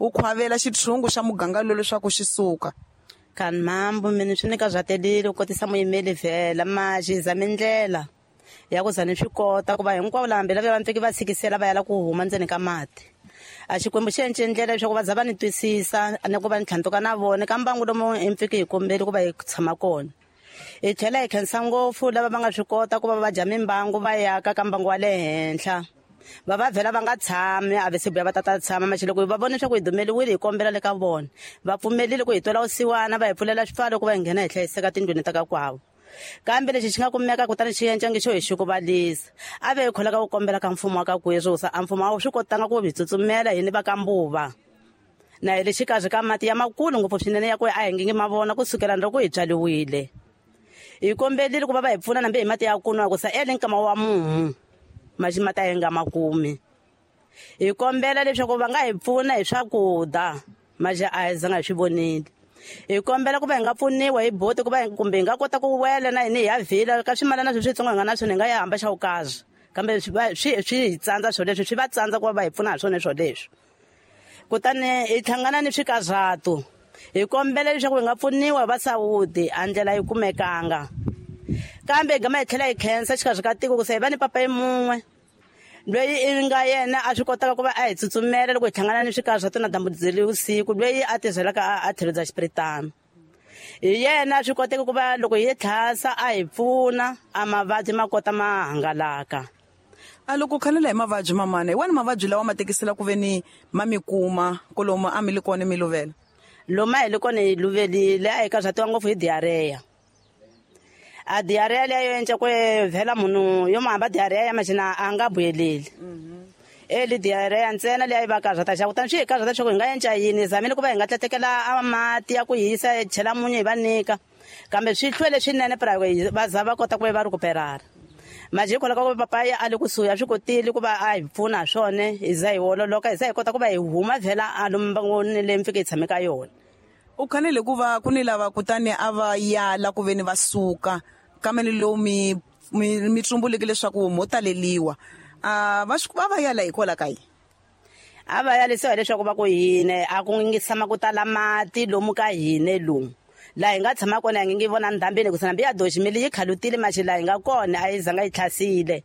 wu khwavela xitshungu xa muganga lowu leswaku xi suka. Kani mambo mina swi ni karhatelile ku kotisa muyimeli vhela maxi zame ndlela ya ku za ni swi kota ku va hinkwavo lava hambela va pfiki va tshikisela va yala ku huma ndzeni ka mati. A Xikwembu xi endle ndlela leswaku va za va ni twisisa ni ku va ni tlhantuka na vona ka mbangu lomu hi pfiki hi kombeli ku va hi tshama kona. Hi tlhela hi khensa ngopfu lava va nga swi kota ku va va dya mimbangu va yaka ka mbangu wa le henhla. Va va vhela va nga tshami a ve se vuya va tata tshama maxi loko va vona leswaku hi dumeliwile hi kombela le ka vona. Va pfumelile ku hi twela vusiwana va hi pfulela swipfalo ku va hi nghena hi hlayiseka tindlwini ta ka kwavo. Kambe lexi xi nga kumeka kutani xi endla nge xo hi xukuvalisa. A ve hi kholaka ku kombela ka mfumo wa ka Kwezusa, a mfumo a wu swi kotanga ku hi tsutsumela hini va ka Mbuva. Na hi le xikarhi ka mati ya makulu ngopfu swinene ya ku a hi nge ma vona ku sukela loko hi byariwile. Hi kombelile ku va va hi pfuna nambe hi mati ya ku nwa ku sa ele nkama wa mumu. Maxi mati a hi nga ma kumi. Hi kombela leswaku va nga hi pfuna hi swakudya, maxi a hi zanga hi swi vonile. Hi kombela ku va hi nga pfuniwa hi boti ku va kumbe hi nga kota ku wela na hina hi ya vhila ka swimalana leswi switsongo hi nga na swona hi nga ya hamba xa vukazi. Kambe swi hi tsandza swilo leswi, swi va tsandza ku va va hi pfuna hi swona swoleswo. Kutani hi hlangana ni swikarhato. Hi kombela leswaku hi nga pfuniwa hi va Saudi, a ndlela yi kumekanga. Kambe hi gama hi tlhela hi khensa xikarhi ka tiko ku se hi va ni papa mun'we loyi i nga yena a swi kotaka ku va a hi tsutsumela loko hi hlangana ni swikarhato na dyambu byi vusiku, loyi a tirhelaka a tlhelo bya xipiritano. Hi yena a swi koteka ku va loko hi tlhasa a hi pfuna, a mavabyi ma kota ma hangalaka. A loko khalela hi mavabyi mamana, hi wani mavabyi lawa ma tekisela ku ve ni ma mi kuma kolomu a mi li kona mi luvela? Lomu a hi li kona hi luvelile, a hi karhatiwa ngopfu hi diarrhea. A diarrhea leyi yo endla ku vhela munhu yo mo hamba diarrhea ya maxina a nga vuyeleli. Eli diarrhea ntsena leyi va karhata xa kutani swi hi karhata leswaku hi nga endla yini, hi zamile ku va hi nga tletekela a mati ya ku hisa hi chela munyu hi va nyika. Kambe swi hlwele swinene pra va za va kota ku va recuperara. Manje hikwalaho ka ku papa ya a le kusuhi a swi kotile ku va a hi pfuna hi swona, hi za hi ololoka, hi za hi kota ku va hi huma vhela a lomu mbangwini leyi mi fike hi tshame ka yona. U khanele ku va ku ni lava kutani a va yala ku ve ni va suka kambe ni lowu mi tsumbuleke leswaku mo taleliwa. A va swi, va va yala hikwalaho ka yini? A va yalisiwa hileswaku va ku hine a ku ngi tshama ku tala mati lomu ka hine lomu. Laha hi nga tshama kona hi nge vona ndhambini hikuva nambi ya doximile yi khalutile maxi laha hi nga kona a yi zanga yi tlhasile.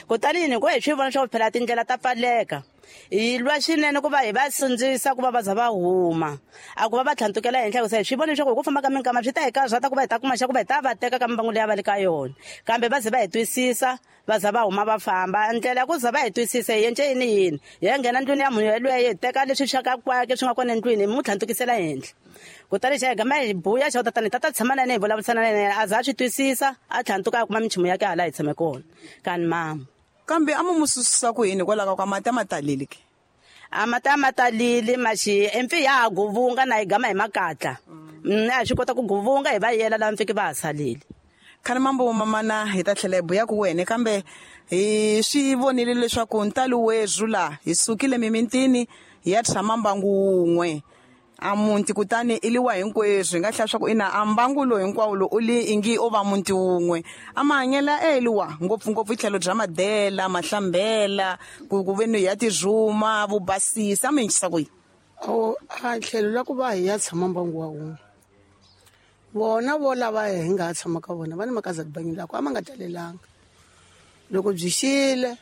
Kutani yini ku hi swi vona swa ku phela tindlela ta pfaleka. Hi lwa swinene ku va hi va sindzisa ku va va za va huma. A ku va va tlhantukela henhla hikuva hi swi vona leswaku hi ku famba ka minkama swi ta hi karhata ku va hi ta kuma xa ku va hi ta va teka ka mimbangu leyi a va le ka yona. Kambe va ze va hi twisisa, va za va huma va famba. Ndlela ya ku za va hi twisisa hi endle yini yini? Hi ya nghena ndlwini ya munhu yelweyo hi teka leswi swa ka kwake swi nga kona endlwini hi n'wi tlhantukisela henhla. Kutani xa hi gama hi buya xa ku tatana hi ta ta tshama na yena hi vulavurisana na yena, a za a swi twisisa, a tlhantuka a kuma minchumu ya ke hala hi tshame kona. Kani mama. Kambe a mu susisa ku yini hikwalaho ka mati a ma taleli ke? A mati a ma taleli maxi empfi ya ha guvunga na hi gama hi makatla. A hi swi kota ku guvunga hi va yela lava mpfiki va ha salile. Khale mambo mamana hi ta tlhela hi buya ku wena kambe hi swi vonile leswaku ntalo wezwu la hi sukile mimintini hi ya tshama mbangu wun'we. A muti kutani i liwa hinkweswo hi nga hlaya swa ku ina a mbangu lowu hinkwawo lowu u li ingi o va muti wun'we. A mahanyelo e liwa ngopfungopfu hi tlhelo bya madela, mahlambela, ku ve ni ya tizuma, vubasisi, a mi yingisa ku yini? O, a tlhelo la ku va hi ya tshama mbangu wa wun'we. Vona vo lava hi nga ha tshama ka vona va ni makaza tibangi la ku a ma nga talelanga. Loko byi xile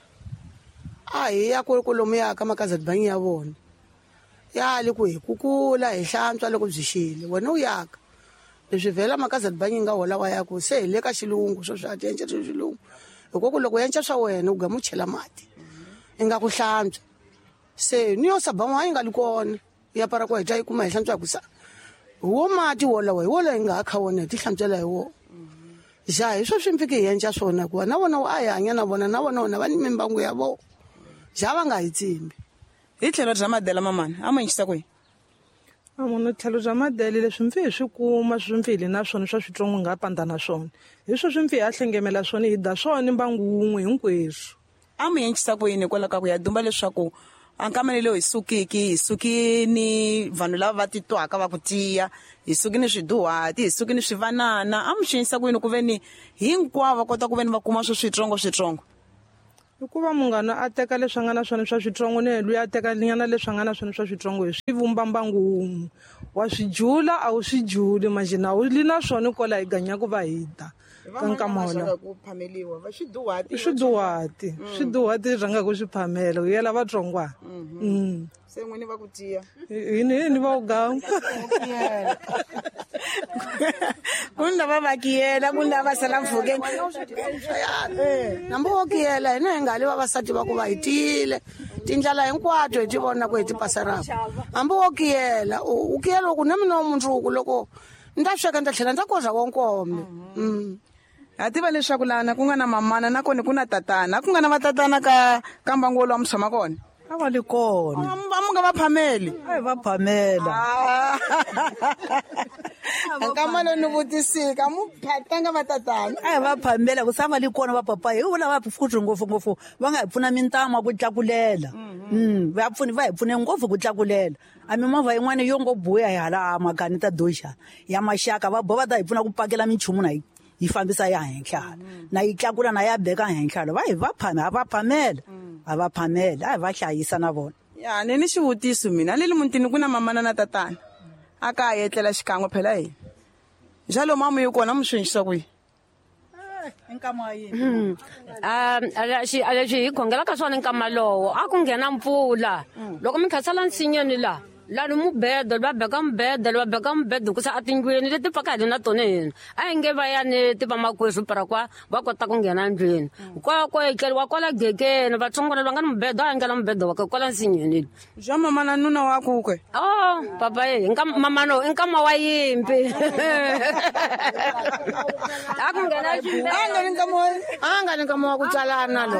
a hi ya ku lomu ya ka makaza tibangi ya vona. Ya le ku hi kukula hi hlantswa loko byi xile wena u yaka. Leswi vhela makaza tibangi nga hola wa ya ku se hi le ka xilungu swo swa tienca swa xilungu. Hikuva ku loko u enca swa wena u gama u chela mati. I nga ku hlantswa. Se ni yo saba yi nga li kona. Ya para ku hi ta yi kuma hi hlantswa ku sa. Hi wo mati wolawo hi wolawo hi nga ha kha wona hi ti hlantswela hi wona. Ja hi swo swi mpfike hi endla swona hikuva na vona a hi hanya na vona na vona vona va ni mimbangu ya vona. Ja va nga hi tsimbi. Hi tlhelo bya madela mamana, a mu yingisa kwihi? A munhu tlhelo bya madele leswi mpfi hi swi kuma swi mpfi hi le na swona swa switsongo hi nga pandza na swona. Hi swo swi mpfi hi ya hlengemela swona hi da swona mbangu wun'we hinkweswo. A mu yingisa ku yini hikwalaho ka ku ya dumba leswaku a nkameni lowu hi sukiki, hi suki ni vanhu lava va titwaka va ku tiya, hi suki ni swiduhati, hi suki ni swivanana. A mu xiyisa ku yini ku ve ni hinkwavo va kota ku ve ni va kuma swo switsongo switsongo? Hikuva munghana a teka leswi a nga na swona swa switsongo ni loyi a teka nyana leswi a nga na swona swa switsongo, hi swi vumba mbangu wun'we. Wa swi jula a wu swi juli, manjhe na wu li na swona kwala hi ganyaku va hi da ka nkama wolowo. I swiduhati, swiduhati rhangaku swi phamela, hi yela vatsongwana. Se n'wini va ku tiya. Hini va ku ganga. Ku ni lava va kiyela, ku ni lava va sala mpfhukeni. Nambu wo kiyela hina hi nga li vavasati va ku va hi tiyile. Tindlela hinkwato hi ti vona ku hi ti pasaraka. Hambi wo kiyela, u kiyela ku na mina wa mundzuku loko ni ta sweka ni ta tlhela ni ta koza wo nkombe. Ha tiva leswaku lana ku nga na mamana na kona ku na tatana. Ku nga na vatatana ka mbangu wolowo mi tshama kona? A va li kona. Va mu nga va phameli? A hi va phamela. Nkama lowu ni vutisika, mu phatanga va tatana. A hi va phamela, ku sa va li kona va papa. Hi vula va futhi ngopfu ngopfu, va nga hi pfuna mintamu ku tlakulela. Va pfuni, va hi pfune ngopfu ku tlakulela. A mimovha yin'wana yo ngo buya hi hala makani ta doxa ya maxaka, va boha va ta hi pfuna ku pakela minchumu na yi fambisa ya henhla. Na yi tlakula na ya beka henhla. Va hi va phame, a va phamela. A va phamela, a hi va hlayisa na vona. Ya, ni ni xivutiso mina, le mutini ku na mamana na tatana. A ka ha etlela xikan'we phela hina. Njalo mamu yi kona mu swi endlisa ku yini? Nkama wa yini? Leswi hi khongelaka swona nkama lowo, a ku nghena mpfula. Loko mi khasela nsinyeni la, lani mubedo, va beka mubedo, va beka mubedo ku sa atindlwini leti pfaka hi na tona hina. A hi nge va ya ni ti va makwerhu para kwa, va kota ku nghena ndlwini. Kwa ko etleriwa kwala gegeni, vatsongwana va nga ni mubedo, a nghena mubedo wa ka kwala nsinyeni. Bya mama na nuna wa ku ke? Oh, papa ye, nkama mama no, nkama wa yimpi. A ku nghena ximbedo. A nga ni nkama wa A nga ni nkama wa ku tswalana lo.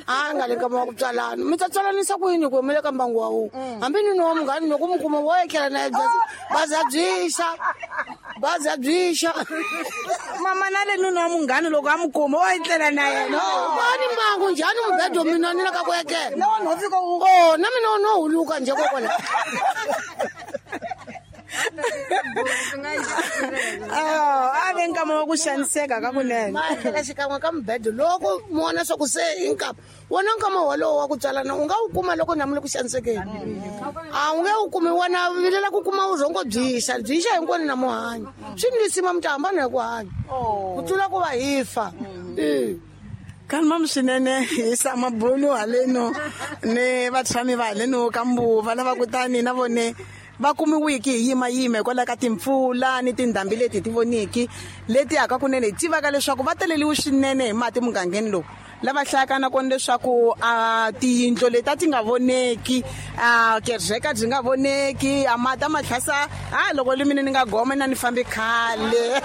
A nga ni nkama wa ku tswalana. Mi ta tswalanisa ku yini ku mi le ka mbangu wa wun'we? Hambi nuna wa munghana loko mi kuma wo etlela na yena, baza byixa. Baza byixa. Mama na le nuna wa munghana loko a mi kuma, wo etlela na yena. Va ni mbangu njhani mubedo mina ni le ka ku etlela? Lawa no fika u- Oh, na mina no huluka njhe kokwala. A ve nkama wa ku xaniseka ka kunene. Va etlela xikan'we ka mubedo loko mi vona swa ku se i nkama. Wona nkama wolowo wa ku tswalana u nga wu kuma loko na mi le ku xanisekeni. A wu nge wu kumi, wena vilela ku kuma vurhongo byixa, byixa hinkwenu na muhanyi. Swi ni lisima mi ta hambana hi ku hanya. Ku tlula ku va hi fa. Kalma swinene hi sama bulu haleno ni vatshami va haleno ka Mbuva lava kutani na vone va kumiwiki hi yima yima hikwalaho ka timpfula ni tindhambi leti hi ti voniki leti haka kunene hi tivaka leswaku va teleliwe swinene hi mati mugangeni lowu. Lava hlayaka na kona leswaku, tiyindlu leti a ti nga voneki, kereke byi nga voneki, a mati a ma tlhasa, loko li mina ni nga goma na ni fambi khale.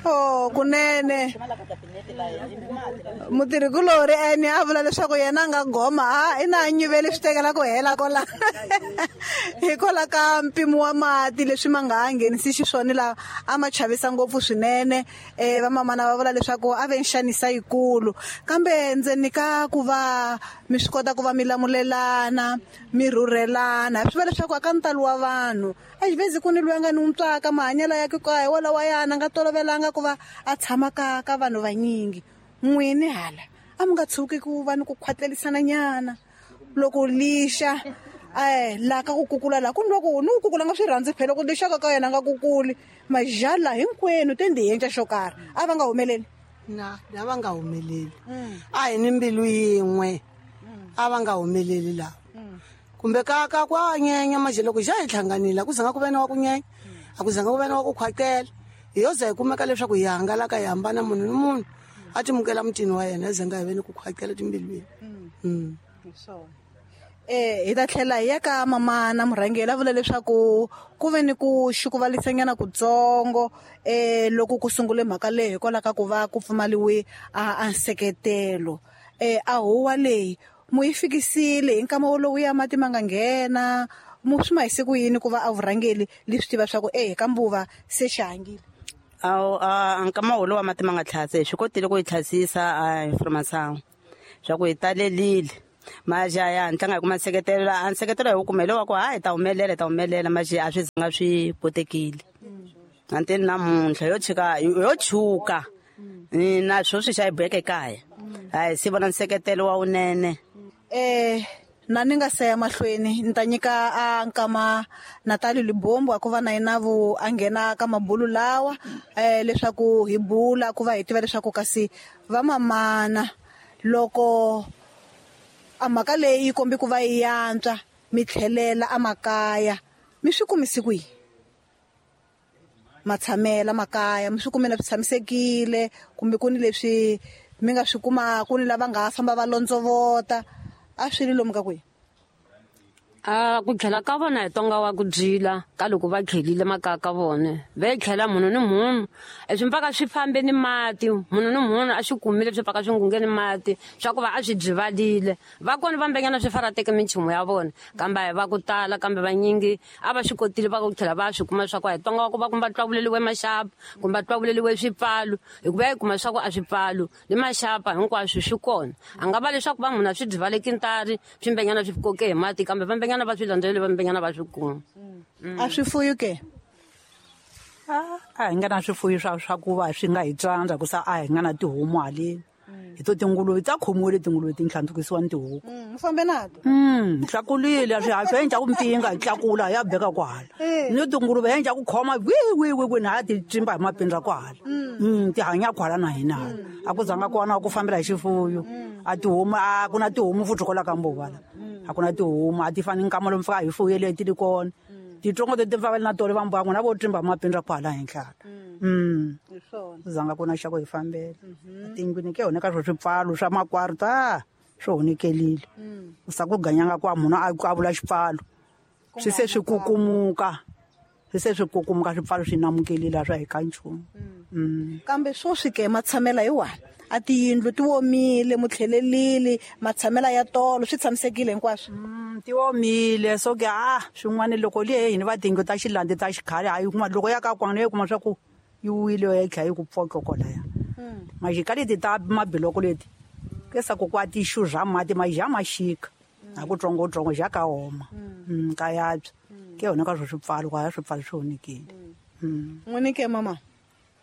Oh, kunene. Mutirhikulori ene a vula leswaku yena a nga goma, a i na nyuvele swi tekela ku hela kwala. Hikwalaho ka mpimo wa mati leswi ma nga ha nghenisi xiswona laha a ma chavisa ngopfu swinene. Vamamana va vula leswaku a ve nxanisa yikulu. Kambe ndzeni ka ku va mi swi kota ku va mi lamulelana, mi rhurhelana, swi vula leswaku a ka ntalo wa vanhu. A xivezi ku ni loyi a nga ni n'wi tswaka mahanyelo ya ku ka hi walawa yana, a nga tolovelanga ku va a tshama ka vanhu vanyingi. N'wini hala a mi nga tshuki ku va ni ku khwatlelisana nyana loko lixa, laha ka ku kukula laha ku ni loko ni ku kukula nga swi rhandzi phela ku lixa ka yena nga kukuli majala hinkwenu te ndi endla xo karhi a va nga humeleli. Na, a va nga humeleli. A hi ni mbilu yin'we. A va nga humeleli laha. Kumbe ka ku a nyenya manje loko xa hi hlanganile, a ku zanga ku ve na wa ku nyenya, a ku zanga ku ve na wa ku khwatela. Hi yo za hi kumeka leswaku hi hangalaka hi hambana munhu ni munhu a timukela mutini wa yena, hi zanga hi ve ni ku khwatela timbilwini. Hi ta tlhela hi ya ka mama na murhangeri a vula leswaku ku ve ni ku xukuvalisanyana kutsongo, loko ku sungule mhaka leyi hikwalaho ka ku va ku pfumaliwe a nseketelo. A huwa leyi mu yi fikisile hi nkama wolowo ya mati ma nga nghena, mu swi ma hise ku yini ku va a vurhangeri li swi tiva swa ku, ka Mbuva se xi hangile? Awu, nkama wolowo wa mati ma nga tlhase, hi swi kotile ku yi tlhasisa, hi information swa ku hi talelile. Maja ya ntlanga hi kuma nseketelo a nseketelo hi wu kumele wa ku ha hi ta humelela maji a swi zanga swi kotekile. Anteni namuntlha yo chika yo chuka na sweswi xa hi boheke kaya. A hi si vona nseketelo wa wunene. Na ni nga se ya mahlweni ni ta nyika a nkama Natalie Libombo a ku va na yena vo a nghena ka mabulu lawa leswaku hi bula ku va hi tiva leswaku kasi va mamana loko a mhaka leyi yi kombi ku va yi yantswa mi tlhelela amakaya mi swi kumisi kwihi matshamela makaya mi swi kumela swi tshamisekile kumbe ku ni leswi mi nga swi kuma ku ni lava nga famba va londzovota a swi ri lomu ka kwihi? A ku tlhela ka vona hi tonga wa ku dyila ka loko va tlhelile makaya ka vona va tlhela munhu ni munhu swi mpaka swi fambe ni mati munhu ni munhu a swi kumile swi mpaka swi ngunge ni mati swa ku va a swi byivalile va kona va mbenyana swi farateke minchumu ya vona kambe a hi va ku tala kambe vanyingi a va swi kotile va ku tlhela va swi kuma swa ku a hi tonga wa ku va kumbe va twavuleliwe maxapa kumbe va twavuleliwe swipfalo hikuva yi kuma swa ku a swipfalo ni maxapa hinkwaswo swi kona a nga va leswaku va munhu a swi byivaleki ntari swi mbenyana swi koke hi mati kambe va mbenyana va swi landzelele va mbenyana va swi kuma. A swifuyo ke? A hi nga na swifuyo swa ku va swi nga hi tsandza ku sa a hi nga na tihomu haleni. Hi to tinguluve ta khomiwile tinguluve ti ntlhandlukisiwa ni tihuku. Mi fambe nato? Tlakulile swi swi endla ku mpinga hi tlakula ya beka kwahala. Ni tinguluve hi endla ku khoma wi wi wi wi na ti tsimba hi mapindza kwahala. Ti hanya kwala na hina hala. A ku zanga kona ku fambela hi xifuyo. A tihomu a ku na tihomu futhi kwala ka Mbovala. A ku na tihomu a ti fani nkama lomu fika hi fuyele ti li kona. Titsongo ti fambela na tolo va mbuya n'wina vo tsimba mapindza kwala henhla. Zanga ku na xa ku hi fambela. Tindlwini ke hona ka swo swipfalo swa makwari ta swo honekelile. U sa ku ganyanga kwa munhu a vula xipfalo. Swi se swi kukumuka. Swi se swi kukumuka swipfalo swi namukelile swa hi ka nchumu. Kambe swoswi ke matshamela hi wani a tiyindlu ti omile mutlhelelile matshamela ya tolo swi tshamisekile hinkwaswo. Ti omile so ke swin'wana loko liye hini va tiyindlu ta xilandi ta xikhale a yi kuma loko ya ka kwana yi kuma swa ku yi wile yi tlhela yi ku pfoka kwalaya. Majika leti ta mabiloko leti ke sa ku kwa ti xuza mati maja maxika a ku tsongotsongo ja ka oma ka yabya ke yona ka swo swipfalo kwa swipfalo swi onekile. N'wini ke mama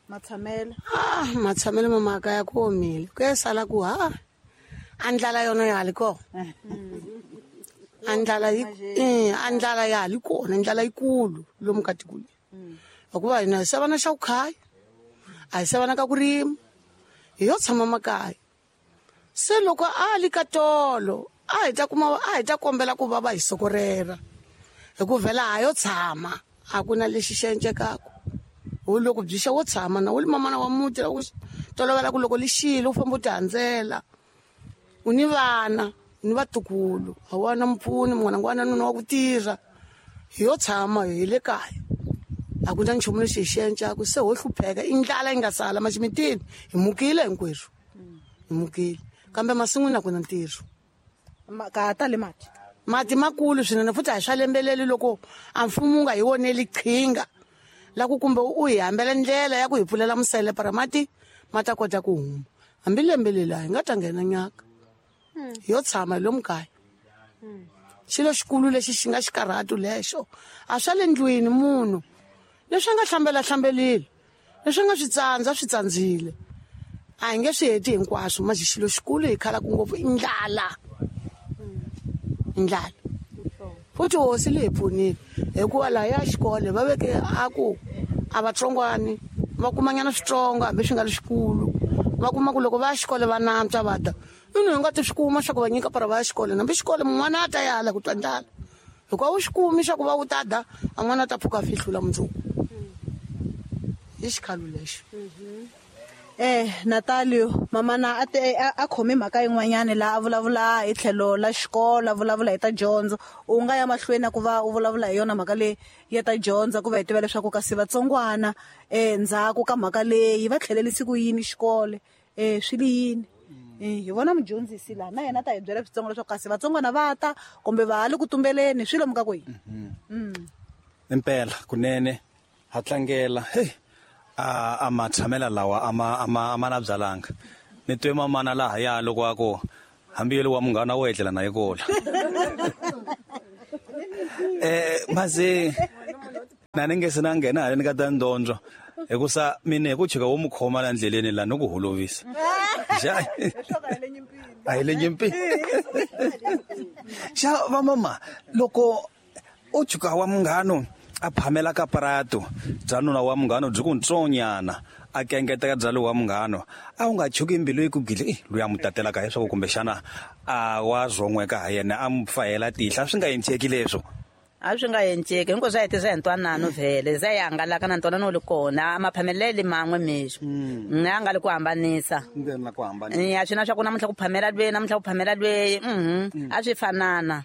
matshamela? Matshamela mama ka ya ku omile ku ya sala ku ha a ndlala yona ya ha li kona. A ndlala yi a ndlala ya ha li kona ndlala yikulu lomu ka tiko leri. Hikuva hina hi se vana xa ku khaya a hi se vana ka ku rima hi yo tshama makaya. Se loko a li ka tolo a hi ta kuma a hi ta kombela ku va va hi sokorera hi ku vhela ha yo tshama a ku na lexi xi encekaka. Wu loko byi xa wo tshama na wu li mamana wa muti la ku tolovela ku loko li xile u famba u ti handzela u ni vana ni vatukulu a wa na mpfuni munghana wa nuna wa ku tirha hi yo tshama hi le kaya a ku na nchumu lexi hi xi encaka se ho hlupheka i ndlala yi nga sala maximitini hi mukile hinkwerhu hi mukile kambe masin'wini a ku na ntirho. Ka ha tali mati? Mati makulu swinene futhi a hi swa lembeleli loko a mfumo wu nga hi voneli qhinga la ku kumbe u hi hambela ndlela ya ku hi pfulela musele para mati ma ta kota ku huma hambi lembe leri a hi nga ta nghena nyaka yo tshama hi lomu kaya. Xilo xikulu lexi xi nga xikarhatu lexo a swa le ndlwini munhu leswi a nga hlambela hlambelile leswi a nga swi tsandza swi tsandzile a hi nge swi heti hinkwaswo maji xilo xikulu hi khalaka ngopfu i ndlala. Ndlala futhi hosi leyi pfunile hikuva laha ya xikolo va veke a ku a vatsongwani va kumanyana switsongo hambi swi nga ri xikulu va kuma ku loko va ya xikolo va nantswa va ta inu hi nga ti swi kuma swa ku va nyika para va ya xikolo hambi xikolo mun'wana a ta yala ku twa ndlala hikuva wu swi kumi swa ku va wu ta da a n'wana a ta pfuka a fihlula mundzuku i xikhalo lexo. Natalio mamana a khome mhaka yin'wanyana laha a vulavula hi tlhelo la xikolo a vulavula hi ta dyondzo u nga ya mahlweni ku va u vulavula hi yona mhaka leyi ya ta dyondza ku va hi tiva leswaku kasi vatsongwana ndzhaku ka mhaka leyi va tlhelelisi ku yini xikolo swi li yini. Hi vona mudyondzisi laha na yena ta hi byela switsongo leswaku kasi vatsongwana va ta kumbe va ha le ku tumbeleni swi lomu ka kwihi. Impela kunene ha tlangela hey a matshamela lawa a ma na byalanga ni twe mamana laha ya loko a ku Hambi yele wa munghana wo etlela na yekola. Maze na ni nge se na nghena haleni ka ta ndondzo hikusa mina hi ku chika wo mu khoma la ndleleni la no ku holovisa. Xa a hi le nyimpini. Xa va mama loko u chuka wa munghano a phamela ka parato bya nuna wa munghano byi ku ntsonyana a kengeteka bya lowa munghano a wu nga chuki mbilu yi ku gile loyi a mu tatelaka leswaku kumbexana a wa zon'weka ha yena a mu fahela tihla swi nga endleki leswo. A swi nga endleki hinkwaswo swa hete swa hi ntwanano vhele za yi hangalaka na ntwanano wu li kona a maphamelele man'we mexo a nga li ku hambanisa a swi na swa ku namuntlha ku phamela lweyi namuntlha ku phamela lweyi a swi fanana.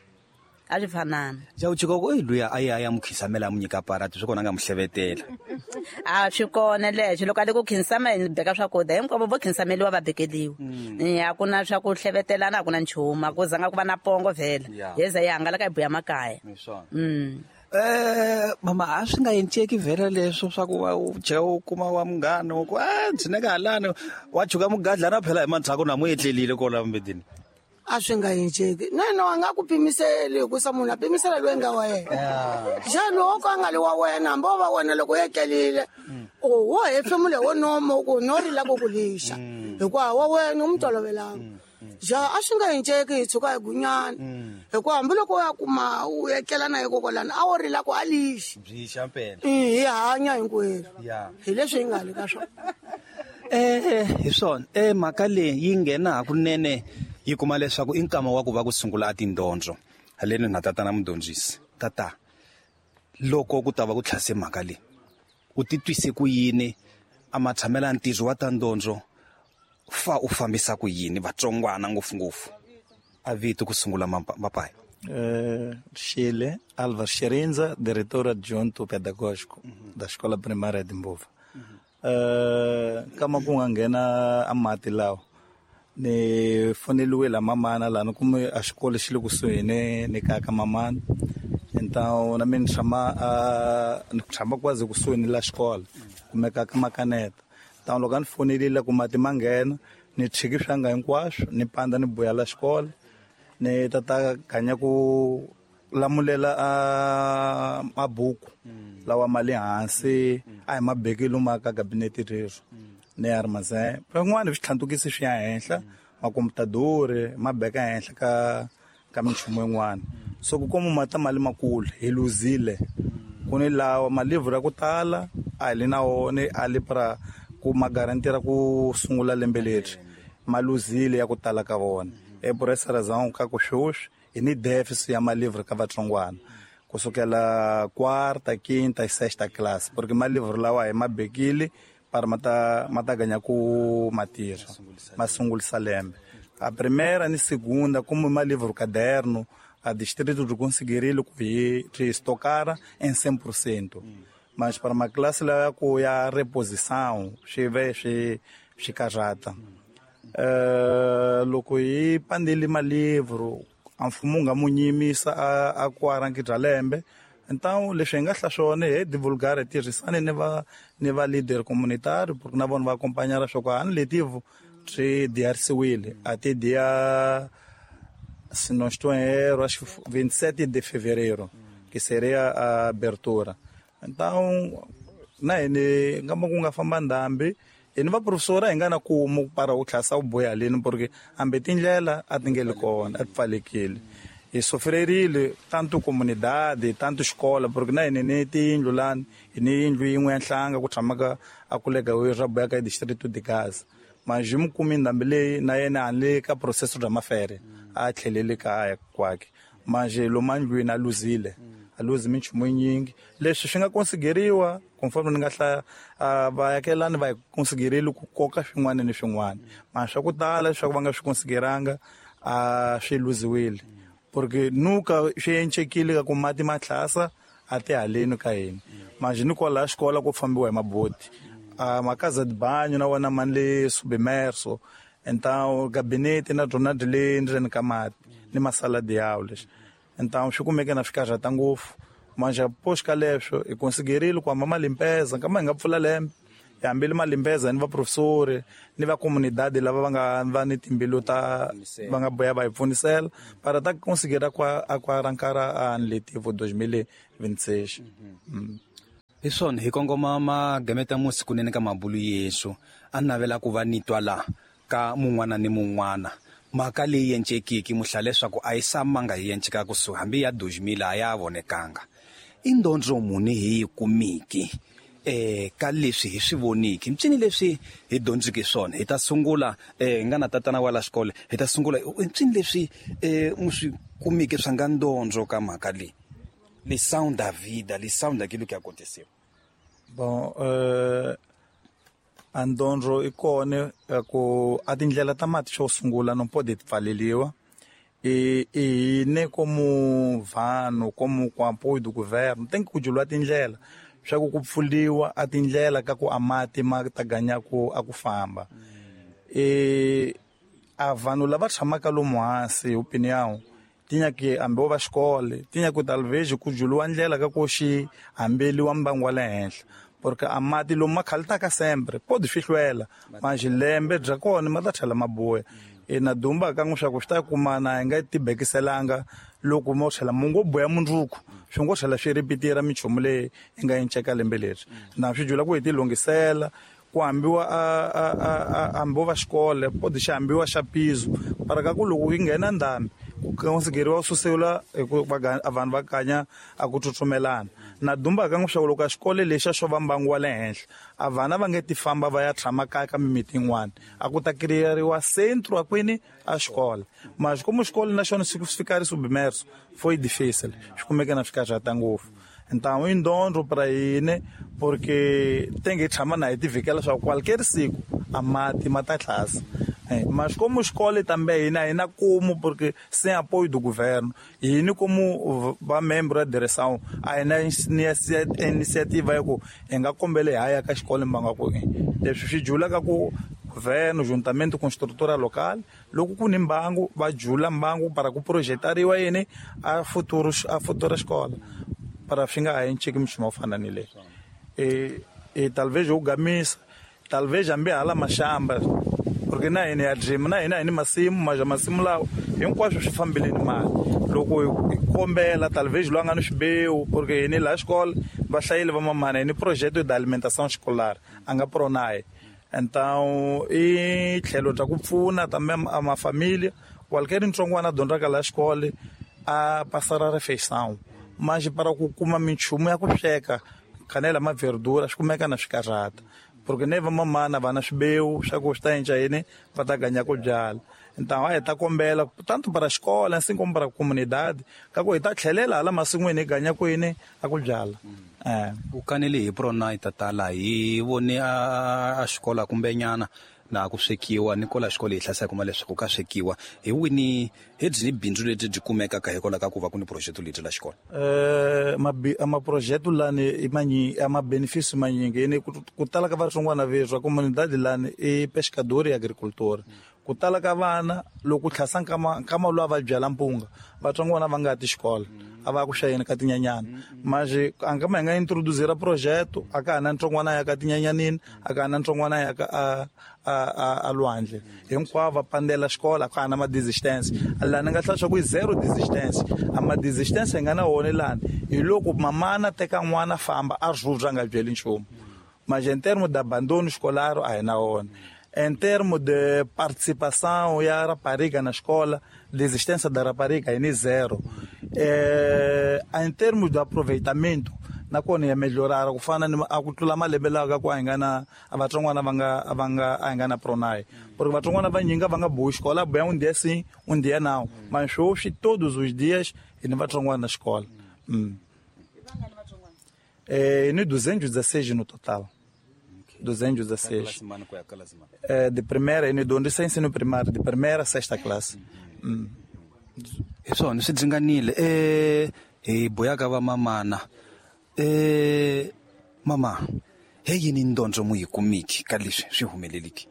A swi fanana. Ja u chika ku luya a ya mu khisamela a mu nyika parati swi kona nga mu hlevetela. A swi kona leswi loko a le ku khinsama hi beka swakudya hinkwavo vo khinsameliwa va bekeliwa. A ku na swa ku hlevetelana a ku na nchumu a ku zanga ku va na pongo vhele. Hi za yi hangalaka hi buya makaya. Mama a swi nga endleki vhele leswo swa ku u chika u kuma wa munghana ku a ndzi neka halani wa chuka mugadlana phela hi mandzhaku na mu etlelile kola mbedini. A swi nga endleki na yena wa nga ku pimiseli hikusa munhu a pimisela loyi nga wa yena. Xa loko a nga li wa wena hambi wo va wena loko u etlelile wo hefemula wo nomo ku no rila ku ku lixa hikuva wa wena u mu tolovelanga. Ja a swi nga endleki hi tshuka hi gunyana hikuva hambi loko u ya kuma u etlela na yekokwalani a wo rila ku a lixi. Byi xa mpela. Hi hanya hinkwerhu. Hi leswi hi nga le ka swona. Hi swona. Mhaka leyi yi nghena hakunene yi kuma leswaku i nkama wa ku va ku sungula a tindondzo haleni na tatana mudyondzisi. Tata loko ku ta va ku tlhase mhaka leyi u titwise ku yini a matshamela ntirho wa ta ndondzo fa u fambisa ku yini vatsongwana ngopfungopfu a vito ku sungula mapaya. Chile Álvaro Xerindza, diretor adjunto pedagógico da Escola Primária de Mbova. Kama ku nga nghena a mati lawa ni foneliwe la mamana la ni kume a xikolo xi le kusuhi ni kaya ka mamana. Então na mina ni tshama kwazi kusuhi ni la xikolo kumeka ka makaneta. Então loko a ni fonelile ku mati ma nghena ni tshiki swanga hinkwaswo ni panda ni buya la xikolo ni tata ganya ku lamulela a mabuku lawa ma le hansi a hi mabekelo ma ka gabinete rero ni armazém van'wana swi tlhantukisi swi ya henhla makomputadori ma beka henhla ka minchumu yin'wana. So ku kuma mata mali makulu hi luzile ku ni lawa malivhuru ya ku tala a hi le na wona a li pra ku ma garantira ku sungula lembe leri ma luzile ya ku tala ka vona. E por essa razão ka ku sweswi hi ni deficit ya malivhuru ka vatsongwana kusukela quarta, quinta e sexta classe porque malivhuru lawa hi ma bekile para mata ganha ku matirha ma sungulisa lembe. A primeira ni segunda como malivhuru caderno a distrito de conseguirile ku hi estocar em 100%. Mas para uma classe lá ku ya reposição swi ve swi karhata. Loko hi pandeli malivhuru a mfumo wu nga mu nyimisa a ku arangidra lembe. Então leswi hi nga hla swona hi divulgare tirhisane ni va leader communitario porque na vona va acompanhar swa ku a ni letivo swi diarisiwile até dia se não estou em erro acho que 27 de fevereiro que seria a abertura. Então na hina ngamba ku nga famba ndhambi hi ni va professora hi nga na kumu para u tlhasa u boya leni porque hambi tindlela a ti nge li kona a ti pfalekile. Hi sofrerile tanto comunidade tanto xikola porque na hina ni tiyindlu lani hi ni yindlu yin'we ya nhlanga ku tshamaka a kulega ra boya ka distrito de Gaza. Mas hi mu kumi ndhambi leyi na yena a le ka processo bya mafere a tlhelele kaya kwakhe. Mas lomu andlwini a luzile a luzi minchumu yinyingi leswi swi nga konsigeriwa conforme ni nga hlaya vaakelani va hi konsigerile ku koka swin'wana ni swin'wana. Mas swa ku tala leswaku va nga swi konsigeranga a swi luziwile porque nuka swi encekile ka ku mati ma tlhasa a ti haleni ka hina. Mas ni kwalaha xikola ku fambiwa hi maboti makaza de banho na wona ma le submerso. Então gabinete na byona byi le ndzeni ka mati ni masala de aula. Então swi kumeke na swi karhata ngopfu. Mas após ka leswo hi konsigerile ku hamba ma limpeza nkama hi nga pfula lembe Hambile malimbeza ni va professori ni va comunidade lava va nga va ni timbilu ta va nga boya va hi pfunisela para ta conseguir a arrancar a ano letivo 2026. Hi swona hi kongoma magameta musi kunene ka mabulu Yesu a navela ku va ni twa la ka mun'wana ni mun'wana mhaka leyi yencekiki muhla leswaku a yi samanga yi yenceka kusuhi hambi ya 2000 a ya vonekanga i ndondzo muni hi yi kumiki ka leswi hi swi voniki mpyini leswi hi dyondziki swona hi ta sungula hi nga na tatana wa la xikolo hi ta sungula mpyini leswi mu swi kumiki swa nga ndondzo ka mhaka leyi lição da vida, lição daquilo que aconteceu. Bom, a ndondzo i kona ku a tindlela ta mati xo sungula no pode pfaleliwa e ne como vanhu como com apoio do governo tem que kujulwa tindlela swa ku pfuliwa a tindlela ka ku a mati ma ta ganya ku a ku famba. E a vanhu lava tshamaka lomu hansi opinião tinha que hambi va xikolo tinha ku talvez ku juliwa ndlela ka ku xi hambeliwa mbangu wa le henhla porque a mati lomu ma khalutaka sempre pode swi hlwela mas lembe bya kona ma ta tlhela ma buya. E na dumba ka n'wi swa ku swi ta kumana hi nga tibekiselanga loko mo tlhela mu ngo buya mundzuku swi ngo tlhela swi ripitira minchumu leyi yi nga enceka lembe leri na swi jula ku hi ti lunghisela ku hambiwa a hambiwa va xikolo pode xi hambiwa xa piso para ka ku loko yi nghena ndhambi ku konsigeriwa susela hi ku vanhu va kanya a ku tsutsumelana na dumba ka n'wi swa loko a xikolo lexa xo va mbangu wa le henhla a vana va nge ti famba va ya tshama kaya ka mimiti yin'wana a ku ta kiriyeriwa centro a kwini a xikolo mas como xikolo na xona swi fika ri submerso foi difícil swi kumeke na swi karhata ngopfu. Então i ndondzo para hina porque tem que tshama na hi tivhikela swa qualquer siku a mati ma ta tlhasa. Mas como escola também hina hina como porque sem apoio do governo hina como va membro da direção a hina iniciativa ya ku hi nga kombele hi ya ka xikolo mbanga ku leswi swi jula ka ku governo juntamente com estrutura local loko ku ni mbangu va jula mbangu para ku projetariwa yini a futuro escola para swi nga ha enceki minchumu yo fana ni leyi. E talvez u gamisa talvez hambi hala maxamba porque na hina ya dream na hina hi ni masimu maja masimu lawa hinkwaswo swi fambile ni mali loko hi kombela talvez loyi a nga ni swibewu porque hini laha xikolo va hlayile va mamana hi ni projeto de alimentação escolar a nga pronae. Então i tlhelo bya ku pfuna tambe a mafamilia qualquer ntsongwana a dyondzaka laha xikolo a passar a refeição mas para ku kuma minchumu ya ku sweka kanela ma verdura swi kumeka na swi karhata porque ne va mamana va na swibewu swa ku swi ta endla yini va ta ganya ku byala. Então a hi ta kombela tanto para xikolo assim como para comunidade ka ku hi ta tlhelela hala masin'wini hi ganya ku yini a ku byala. U kanele hi Pronai tatala hi vone a xikolo kumbe nyana na ku swekiwa ni kola xikolo hi hlasela kuma leswaku ka swekiwa hi wini hi byi bindzu lebyi byi kumekaka hikwalaho ka ku va ku ni project lebyi la xikolo. Ma project lani i manyi a ma benefício manyingi ni ku tala ka vatsongwana veswa comunidade lani i pescador e agricultor ku tala ka vana loko tlhasa nkama lowa va byala mpunga vatsongwana va nga ti xikolo a va ku xayeni ka tinyanyana mas a nga ma hi nga introduzira projeto a ka ha na ntsongwana ya ka tinyanyanini a ka ha na ntsongwana ya ka a lwandle hinkwavo va pandela xikolo a ka ha na ma desistance lani nga hlaya swa ku i zero desistance a ma desistance hi nga na wona lani hi loko mamana teka n'wana famba a rhurha a nga byeli nchumu mas em termo de abandono escolar a hi na wona. Em termos de participação e a rapariga na escola, desistência da rapariga é zero. Em termos de aproveitamento, na kona ya melhorar ku fana ni a ku tlula malembe lawa ka ku a hi nga na a vatsongwana va nga a hi nga na Pronai porque vatsongwana va nyinga va nga bohi xikolo a boya um dia sim um dia não mas hoje todos os dias hi ni vatsongwana na xikolo. Ni 216 no total. 216. De primeira, e dyondzisa ensino primário, de primeira a sexta classe. Hi swona swi dzinganile. Hi boyaka va mamana. Mama, he yini ndondzo mu yi kumiki ka leswi swi humeleliki?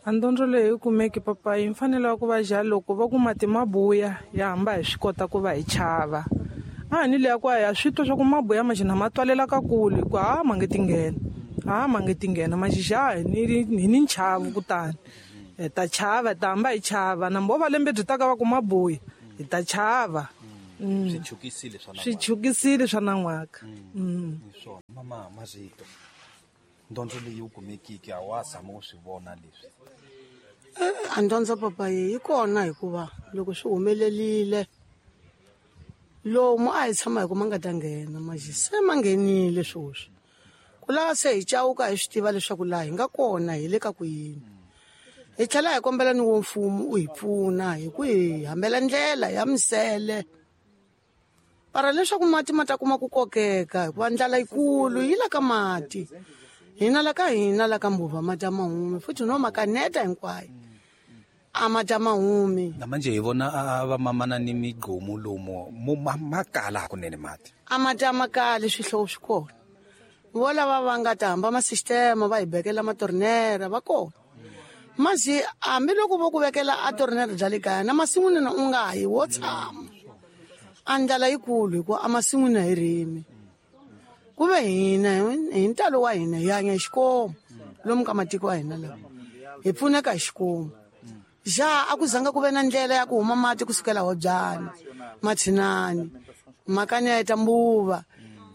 A ndondzo leyi yi kumeki papa yi mfanelo ku va ja loko va ku mati mabuya ya hamba hi swi kota ku va hi chava. A ni leya ku ya swi twa swa ku mabuya maxina ma twalela ka kule ku ha ma nge ti nghena. A ma nge ti nghena maxixa hi ni nchavu kutani hi ta chava, hi ta hamba hi chava na mbo va lembe byi ta ka va ku mabuya hi ta chava. Swi chukisile swa nan'waka. Hi swona mama Mazito, ndondzo leyi wu kumekiki a wa tshama u swi vona leswi? A ndondzo papa yi kona, hikuva loko swi humelelile lomu a hi tshama hi ku ma nga ta nghena maxi se ma nghenile swoswi ku lava se hi cawuka, hi swi tiva leswaku laha hi nga kona hi le ka ku yini. Hi tlhela hi kombela ni wo mfumo u hi pfuna hi ku hi hambela ndlela ya misele para leswaku mati ma ta kuma ku kokeka, hikuva ndlala yikulu yi la ka mati. Hina la ka hina la ka Mbuva mati a ma humi, futhi no makaneta hinkwayo a mati a ma humi. Na manje hi vona a va mamana ni migqomu lomu mo ma kala hakunene mati. A mati a ma kali, swihlovo swi kona. Vo lava va nga ta hamba masistema va hi bekela matornera va kona masi, hambiloko vo ku vekela a tornera bya le kaya na masin'wini na u nga yi wo tshama. A ndlala yikulu hikuva a masin'wini a hi rimi, ku ve hina hi ntalo wa hina hi hanya hi xikomu lomu ka matiko wa hina lawa hi pfuneka hi xikomu. Ja a ku zanga ku ve na ndlela ya ku huma mati kusukela Hobyani, Mathinani, Makani ya eta Mbuva,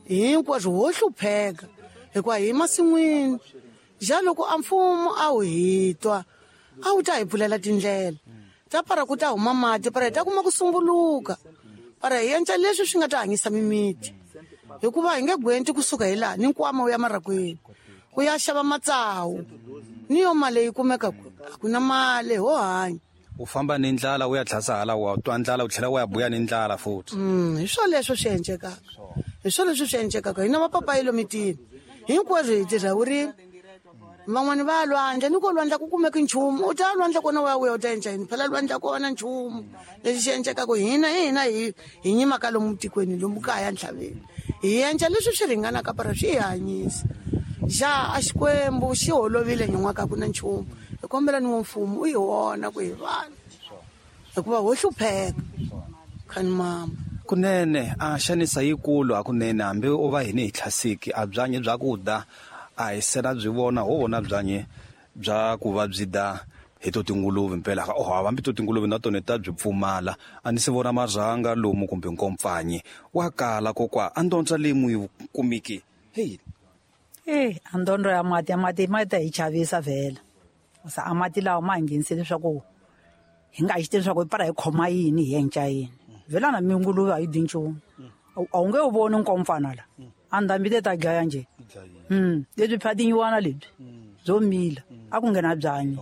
hinkwaswo ho hlupheka hikuva hi masin'wini. Ja loko a mfumo a wu hi twa a wu ta hi pfulela tindlela ta para ku ta huma mati para hi ta kuma ku sumbuluka para hi endla leswi swi nga ta hanyisa mimiti, hikuva hi nge gwenti kusuka hi laha ni nkwama wu ya marakweni ku ya xava matsawu ni yo mali yi kumeka a ku na mali ho hanya. U famba ni ndlala u ya tlhasa hala, wa twa ndlala u tlhela u ya buya ni ndlala futhi. Hi swo leswo swi endlekaka, hi swo leswi swi endlekaka. Hina vapapayi lomitini hinkwaswo hi tirha vurimi, van'wani va ya lwandle, ni ko lwandle ku kumeki nchumu. U ta lwandle kona u ya vuya u ta endla yini? Phela lwandle kona nchumu lexi xi endlekaka. Hina hi hina hi nyimaka lomu tikweni lomu kaya ntlhaveni hi endla leswi swi ringanaka para swi hi hanyisa. Ja a Xikwembu xi holovile nyin'waka ku na nchumu. Hi kombela ni wo mfumo u hi vona ku hi vanhu, hikuva ho hlupheka khani mama. Kunene a xanisa yikulu hakunene, hambi u va hini hi tlhasiki a byanyi bya ku da a hi sena byi vona, ho vona byanyi bya ku va byi da hi to tinguluve mpela. Oh, hambi to tinguluve na tona ta byi pfumala. A ni se vona marhanga lomu kumbe nkompfanyi wa kala kokwa. A ndondzo leyi mu yi kumiki heyi? E a ndondro ya mati, ya mati ma ta hi chavisa vhela. Sa a mati lawa ma hi nghenise leswaku hi nga xi tivi leswaku hi para hi khoma yini hi yenca yini. Vhela na minguluve a yi dyi nchumu, a wu nge wu voni nkompfana la a ndhambi te ta dlaya njhe. Lebyi phyatinyiwana lebyi byo mila a ku nghena byanyi.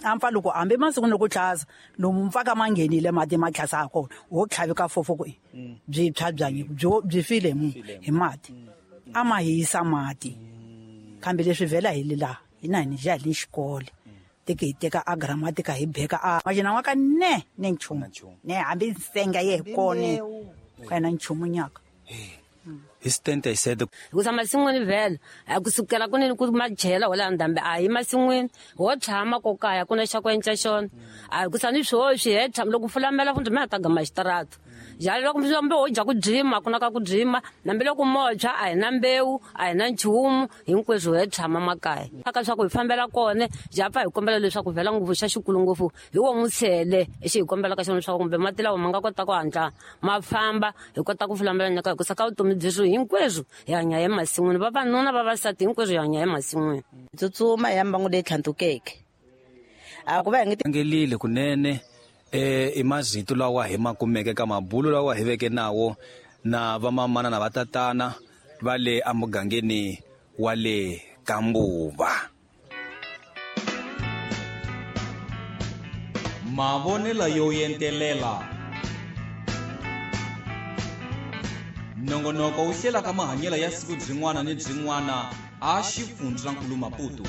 A mpfa loko hambi masiku ku tlhasa lomu mpfaka ma nghenile mati ma tlhasa ha kona wo tlhavika fofo ku byi tshwa byanyi byo byi file mu hi mati a ma hisa mati. Kambe leswi vhela hi le laha hina hi ni ja hi ni xikolo teke hi teka a gramatika hi beka a maxina wa ka ne ne nchumu ne hambi nsenga ye hi kone ka yena nchumu nyaka. Hi stente hi sete. Hikusa masin'wini vhela a kusukela kunene ku majela wala ndhambi a hi masin'wini ho tshama ko kaya ku na xa ku endla xona a hikusa ni swoswi he tshama loko fulamela fundi mi ta gama xitarata jalo loko mbe ho dya ku dzima ku na ka ku dzima nambi loko motshwa a hi na mbewu a hi na nchumu hinkweswo he tshama makaya aka swa ku hi fambela kona ja pfa hi kombela leswaku vhela ngopfu xa xikulu ngopfu hi wo mutshele exi hi kombelaka xona leswaku kumbe mati lawa ma nga kota ku hatla ma famba hi kota ku fulambela nyaka, hikusa ka vutomi byeswo hinkweswo hi hanya emasin'wini, vavanuna vavasati hinkweswo hi hanya emasin'wini. Tsutsuma hi ya mbangu leyi tlhantukeke a ku va hi nge Angelile kunene i mazito lawa hi ma kumeke ka mabulu lawa hi veke nawo na vamamana na vatatana va le emugangeni wa le Kambuva. Mavonelo yo entelela nongonoko wu hlelaka mahanyelo ya siku byin'wana ni byin'wana a xifundzankulu Maputo.